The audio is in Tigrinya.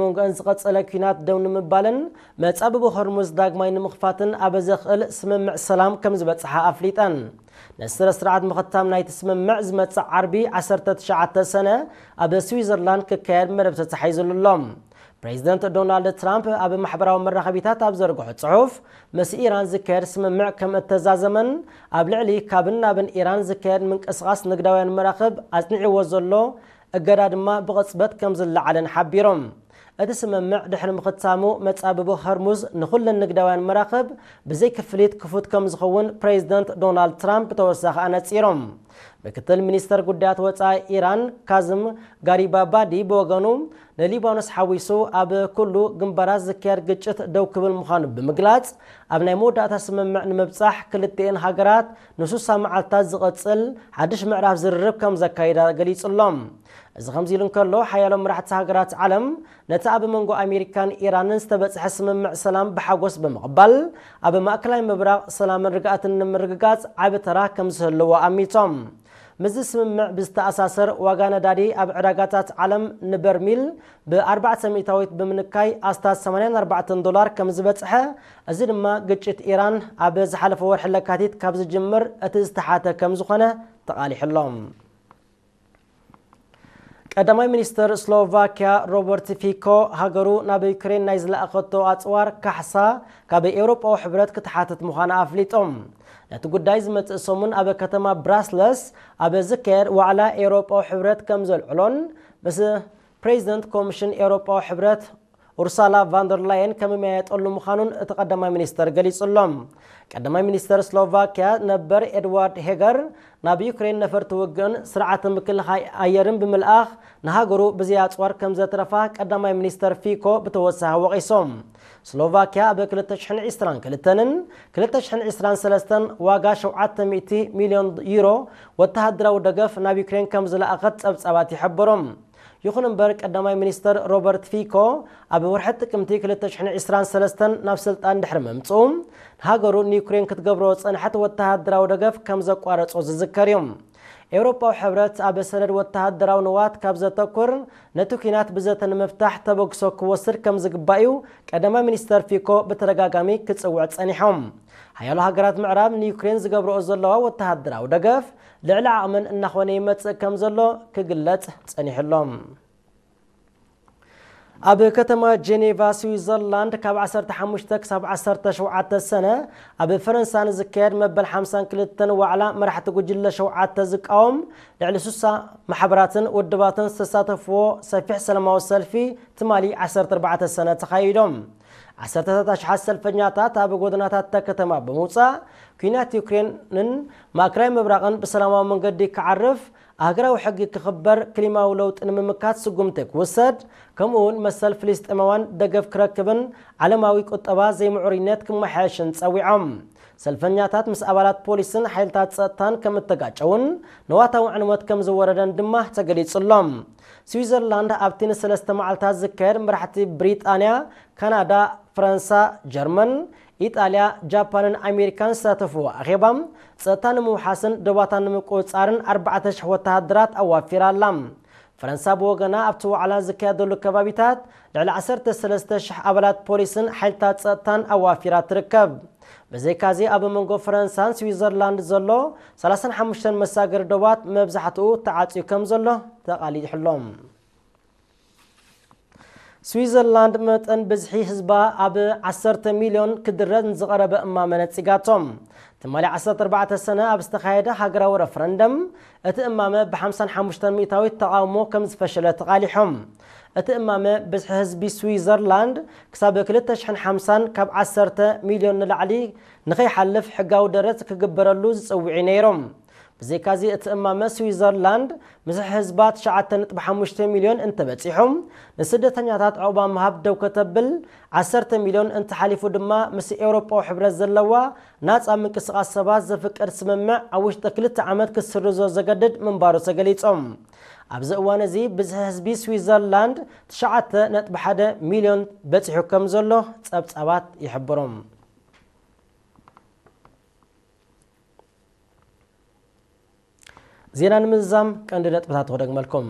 መንጎአን ዝቐጸለ ኲናት ደው ንምባልን መጻብቦ ሆርሙዝ ዳግማይ ንምኽፋትን ኣብ ዘኽእል ስምምዕ ሰላም ከም ዝበጽሓ ኣፍሊጠን። ንስረ ስርዓት ምኽታም ናይቲ ስምምዕ ዝመጽእ ዓርቢ ዓሰርተ ትሽዓተ ሰነ ኣብ ስዊዘርላንድ ክካየድ መደብ ተታሒዙሉ ኣሎ። ፕሬዚደንት ዶናልድ ትራምፕ ኣብ ማሕበራዊ መራኸቢታት ኣብ ዘርግሖ ጽሑፍ፣ ምስ ኢራን ዝካየድ ስምምዕ ከም እተዛዘመን ኣብ ልዕሊ ካብን ናብን ኢራን ዝካየድ ምንቅስቓስ ንግዳውያን መራኽብ ኣጽኒዕዎ ዘሎ እገዳ ድማ ብቕጽበት ከም ዝለዓለን ሓቢሮም። እቲ ስምምዕ ድሕሪ ምኽታሙ መጻብቦ ሆርሙዝ ንኹለን ንግዳውያን መራኽብ ብዘይ ክፍሊት ክፉት ከም ዝኸውን ፕሬዚደንት ዶናልድ ትራምፕ ብተወሳኺ ኣነጺሮም። ምክትል ሚኒስተር ጉዳያት ወጻኢ ኢራን ካዝም ጋሪባባዲ ብወገኑ፣ ንሊባኖስ ሓዊሱ ኣብ ኩሉ ግንባራት ዝካየድ ግጭት ደው ክብል ምዃኑ ብምግላጽ፣ ኣብ ናይ መወዳእታ ስምምዕ ንምብጻሕ ክልቲኤን ሃገራት ንሱሳ መዓልታት ዝቐጽል ሓድሽ ምዕራፍ ዝርርብ ከም ዘካይዳ ገሊጹ ኣሎ። እዚ ከምዚ ኢሉ እንከሎ፣ ሓያሎ መራሕቲ ሃገራት ዓለም ነቲ ኣብ መንጎ ኣሜሪካን ኢራንን ዝተበጽሐ ስምምዕ ሰላም ብሓጎስ ብምቕባል፣ ኣብ ማእከላይ ምብራቕ ሰላምን ርግኣትን ንምርግጋጽ ዓቢ ተራ ከም ዝህልዎ ኣሚቶም። ምስዚ ስምምዕ ብዝተኣሳሰር፣ ዋጋ ነዳዲ ኣብ ዕዳጋታት ዓለም ንበርሚል ብ ኣርባዕተ ሚእታዊት ብምንካይ ኣስታት ሰማንያን ኣርባዕተን ዶላር ከም ዝበጽሐ፣ እዚ ድማ ግጭት ኢራን ኣብ ዝሓለፈ ወርሒ ለካቲት ካብ ዝጅምር እቲ ዝተሓተ ከም ዝኾነ ተቓሊሑ ኣሎ። ቀዳማይ ሚኒስተር ስሎቫኪያ ሮበርት ፊኮ፣ ሃገሩ ናብ ዩክሬን ናይ ዝለኣኸቶ ኣጽዋር ካሕሳ ካብ ኤውሮጳዊ ሕብረት ክትሓትት ምዃና ኣፍሊጦም። ነቲ ጉዳይ ዝመጽእ ሰሙን ኣብ ከተማ ብራስለስ ኣብ ዝካየድ ዋዕላ ኤውሮጳዊ ሕብረት ከም ዘልዕሎን ምስ ፕሬዚደንት ኮሚሽን ኤውሮጳዊ ሕብረት ኡርሳላ ቫንደር ላየን ከምመያየጠሉ ምዃኑን እቲ ቀዳማይ ሚኒስተር ገሊጹ ኣሎ። ቀዳማይ ሚኒስተር ስሎቫኪያ ነበር ኤድዋርድ ሄገር፣ ናብ ዩክሬን ነፈርቲ ውግእን ስርዓተ ምክልኻይ ኣየርን ብምልኣኽ ንሃገሩ ብዘይ ኣጽዋር ከም ዘትረፋ ቀዳማይ ሚኒስተር ፊኮ ብተወሳኺ ወቒሶም። ስሎቫኪያ ኣብ ክልተ ሽሕን ዕስራን ክልተን ክልተ ሽሕን ዕስራን ሰለስተን ዋጋ ሸውዓተ ሚእቲ ሚልዮን ዩሮ ወተሃደራዊ ደገፍ ናብ ዩክሬን ከም ዝለኣኸት ጸብጻባት ይሕብሩ። ይኹን እምበር፣ ቀዳማይ ሚኒስተር ሮበርት ፊኮ ኣብ ወርሒ ጥቅምቲ ክልተ ሽሕን ዕስራን ሰለስተን ናብ ስልጣን ድሕሪ ምምጽኡ፣ ንሃገሩ ንዩክሬን ክትገብሮ ዝጸንሐት ወተሃደራዊ ደገፍ ከም ዘቋረጾ ዝዝከር እዩ። ኤውሮጳዊ ሕብረት ኣብ ሰነድ ወተሃደራዊ ንዋት ካብ ዘተኩር፣ ነቲ ኲናት ብዘተ ንምፍታሕ ተበግሶ ክወስድ ከም ዝግባእ እዩ ቀዳማይ ሚኒስተር ፊኮ ብተደጋጋሚ ክጽውዕ ጸኒሖም። ሓያሎ ሃገራት ምዕራብ ንዩክሬን ዝገብርኦ ዘለዋ ወተሃደራዊ ደገፍ ልዕሊ ዓቕመን እናኾነ ይመጽእ ከም ዘሎ ክግለጽ ጸኒሑ ኣሎ። ኣብ ከተማ ጄኔቫ ስዊዘርላንድ ካብ ዓሰርተ ሓሙሽተ ክሳብ ዓሰርተ ሸውዓተ ሰነ ኣብ ፈረንሳ ንዝካየድ መበል ሓምሳን ክልተን ዋዕላ መራሕቲ ጉጅለ ሸውዓተ ዝቃወም ልዕሊ ሱሳ ማሕበራትን ውድባትን ዝተሳተፍዎ ሰፊሕ ሰላማዊ ሰልፊ ትማሊ ዓሰርተ ኣርባዕተ ሰነ ተኻይዶም። ዓሰርተታት ኣሽሓት ሰልፈኛታት ኣብ ጎደናታት እታ ከተማ ብምውጻእ፣ ኲናት ዩክሬንን ማእከላይ ምብራቕን ብሰላማዊ መንገዲ ክዓርፍ፣ ኣህግራዊ ሕጊ ክኽበር፣ ክሊማዊ ለውጢ ንምምካት ስጉምቲ ክውሰድ፣ ከምኡ እውን መሰል ፍልስጤማውያን ደገፍ ክረክብን ዓለማዊ ቁጠባ ዘይምዕሩይነት ክመሓየሽን ጸዊዖም። ሰልፈኛታት ምስ ኣባላት ፖሊስን ሓይልታት ጸጥታን ከም እተጋጨውን ንዋታዊ ዕንወት ከም ዝወረደን ድማ ተገሊጹ ኣሎ። ስዊዘርላንድ ኣብቲ ንሰለስተ መዓልታት ዝካየድ መራሕቲ ብሪጣንያ፣ ካናዳ፣ ፈረንሳ፣ ጀርመን፣ ኢጣልያ፣ ጃፓንን ኣሜሪካን ዝሳተፍዎ ኣኼባ፣ ጸጥታ ንምውሓስን ዶባታ ንምቁጽጻርን ኣርባዕተ ሽሕ ወተሃደራት ኣዋፊራ ኣላ። ፈረንሳ ብወገና ኣብቲ ዋዕላ ዝካየደሉ ከባቢታት ልዕሊ ዓሰርተ ሰለስተ ሽሕ ኣባላት ፖሊስን ሓይልታት ጸጥታን ኣዋፊራ ትርከብ። ብዘይካዚ ኣብ መንጎ ፈረንሳን ስዊዘርላንድ ዘሎ ሰላሳን ሓሙሽተን መሳገሪ ዶባት መብዛሕትኡ ተዓጽዩ ከም ዘሎ ተቓሊሑ ኣሎ። ስዊዘርላንድ መጠን ብዝሒ ህዝባ ኣብ ዓሰርተ ሚልዮን ክድረዝ ንዝቐረበ እማመ ነጺጋቶ። ትማሊ ዓሰርተ ኣርባዕተ ሰነ ኣብ ዝተኻየደ ሃገራዊ ረፈረንደም እቲ እማመ ብ ሓምሳን ሓሙሽተን ሚእታዊት ተቓውሞ ከም ዝፈሸለ ተቓሊሖም። እቲ እማመ ብዝሒ ህዝቢ ስዊዘርላንድ ክሳብ ክልተ ሽሕን ሓምሳን ካብ ዓሰርተ ሚልዮን ንላዕሊ ንኸይሓልፍ ሕጋዊ ደረት ክግበረሉ ዝጽውዑ ነይሮም። ብዘይካዚ እቲ እማመ ስዊዘርላንድ ምስ ህዝባ ትሽዓተ ነጥቢ ሓሙሽተ ሚልዮን እንተበጺሑ፣ ንስደተኛታት ዕቑባ ምሃብ ደው ከተብል፣ ዓሰርተ ሚልዮን እንተሓሊፉ ድማ ምስ ኤውሮጳዊ ሕብረት ዘለዋ ናጻ ምንቅስቓስ ሰባት ዘፍቅድ ስምምዕ ኣብ ውሽጢ ክልተ ዓመት ክትስርዞ ዘገድድ ምንባሩ ተገሊጾም። ኣብዚ እዋን እዚ ብዝሒ ህዝቢ ስዊዘርላንድ ትሽዓተ ነጥቢ ሓደ ሚልዮን በጺሑ ከም ዘሎ ጸብጻባት ይሕብሩ። ዜና ንምዝዛም ቀንዲ ነጥብታት ክደግመልኩም።